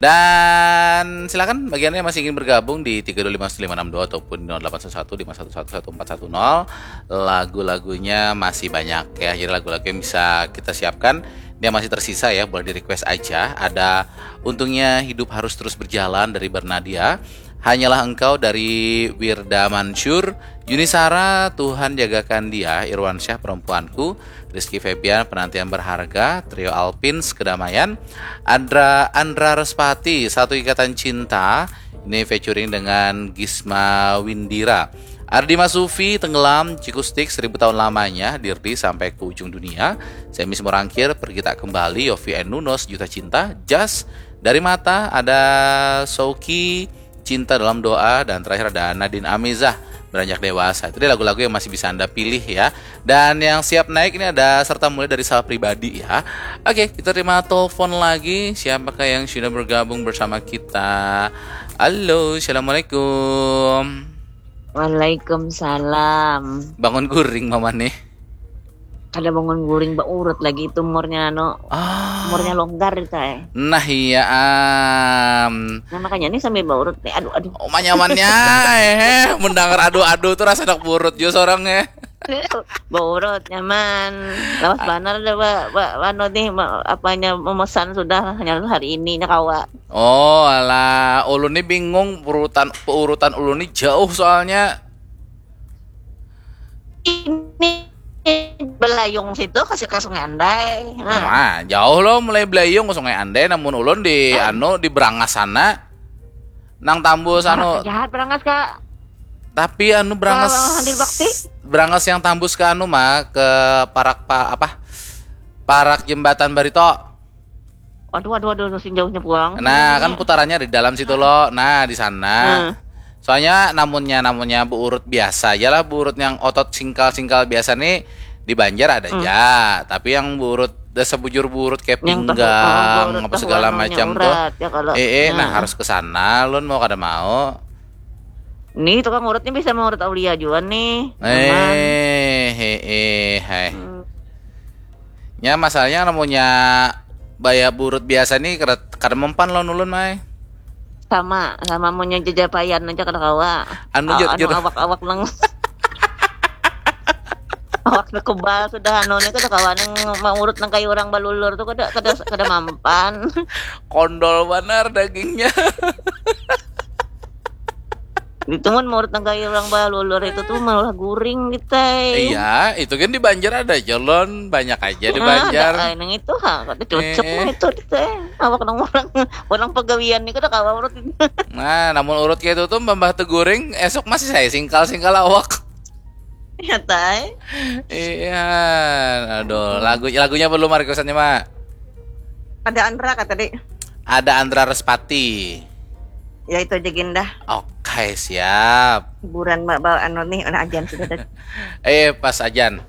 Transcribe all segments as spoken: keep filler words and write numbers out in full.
Dan silakan bagi Anda yang masih ingin bergabung di tiga dua lima satu lima enam dua ataupun nol delapan satu satu lima satu satu satu empat satu nol. Lagu-lagunya masih banyak ya. Jadi lagu-lagu yang bisa kita siapkan, yang masih tersisa ya, boleh di-request aja. Ada Untungnya Hidup Harus Terus Berjalan dari Bernadia, Hanyalah Engkau dari Wirda Mansur, Yuni Sara, Tuhan Jagakan Dia, Irwansyah Perempuanku, Rizky Febian, Penantian Berharga, Trio Alpins, Kedamaian, Andra Andra Respati, Satu Ikatan Cinta, ini featuring dengan Gisma Windira. Ardi Masufi, Tenggelam, Cikustik, Seribu Tahun Lamanya, Dirdi, Sampai ke Ujung Dunia, Semis Morangkir, Pergi Tak Kembali, Yofi and Nuno, Sejuta Cinta, Jas, Dari Mata, ada Souki, Cinta Dalam Doa, dan terakhir ada Nadine Amizah, Beranjak Dewasa. Itu dia lagu-lagu yang masih bisa Anda pilih ya. Dan yang siap naik ini ada serta mulai dari Sal Pribadi ya. Oke, kita terima telepon lagi. Siapakah yang sudah bergabung bersama kita? Halo, assalamualaikum. Waalaikumsalam. Bangun guring mama nih. Kada bangun guring, baurut lagi itu umurnya, anu. Ah. Umurnya longgar itu, eh. Nah iya am. Nah, makanya ini sambil baurut nih. Aduh, aduh. Oh, nyamannya eh mendengar aduh-aduh tuh rasa anak burut juga seorang eh. Baurut nyaman. Lawas banar dah, Pak. Pak, anu nih, ma- apanya memesan sudah hanya hari ini nya kawa. Oh, alah, ulun nih bingung urutan urutan ulun nih jauh soalnya. Ini Belayung situ kasih ke Sungai Andai. Nah, Nah, jauh loh mulai Belayung ke Sungai Andai, namun ulun di anu di Brangas sana. Nang tambus anu, jahat Berangas, Kak. Tapi anu Brangas Kalau Hadir Bakti? Brangas yang tambus ke anu mah ke parak pa, apa? Parak jembatan Barito. Waduh, waduh, waduh, sing jauhnya pulang. Nah, kan putarannya di dalam situ loh. Nah, di sana. Hmm. Soalnya namunnya namunnya buurut biasa aja lah, buurut yang otot singkal-singkal biasa nih di Banjar ada Hmm. aja. Tapi yang buurut dasar bujur buurut kayak Yang tuh, pinggang oh, buurut apa tuh segala warnanya macam tuh. urat, ya, kalau Eh, eh, nah nah. Harus ke sana, lun mau kada mau. Nih, tukang urutnya bisa mengurut Aulia juga nih. Aman. Eh, eh, eh, hai. Hmm. Ya masalahnya namunnya baya buurut biasa nih kada kada mempan lawan ulun mai. Sama, sama munnya jejapaian aja kada kawa. Anu, Aw- jur- anu jur- awak-awak nang awak nang kebal sudah anu nih kada kawa nang mengurut nang kayak orang balulur tuh kada kada kada mampan. Kondol banar dagingnya. Itu mun mengurut nang kayak orang balulur itu tuh malah guring gitu. Iya, itu kan di Banjar ada jalon banyak aja di Ah, Banjar. ada, eh, nang itu ha, kada cocok Eh. nang itu teh. Awak nang orang orang pagawian nih kada kawa urut. Nah, namun urut kayak itu tuh mbah teguring esok masih saya singkal-singkal awak. Ya tai. Iya, aduh, lagu lagunya belum requestannya, Mak. Ada Andra kata tadi. Ada Andra Respati. Ya itu aja Ginda. Oke, siap. Hiburan Mbak Bal anu nih, nah ajan sudah ada. Eh, pas ajan.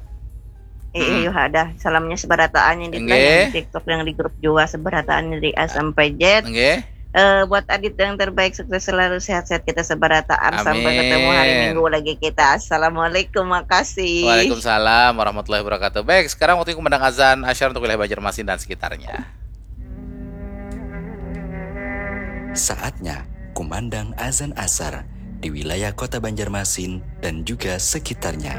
Eh, eh, yuh ada. Salamnya sebarataan yang di Nggih. yang di TikTok yang di grup jua sebarataan dari A sampai Z. Nggih. Eh, buat Adit yang terbaik, sukses selalu, sehat-sehat kita sebarataan sampai Amin. Ketemu hari Minggu lagi kita. Assalamualaikum, makasih. Waalaikumsalam warahmatullahi wabarakatuh. Baik, sekarang waktunya kumandang azan asyar untuk wilayah Banjarmasin dan sekitarnya. Saatnya kumandang azan asar di wilayah Kota Banjarmasin dan juga sekitarnya.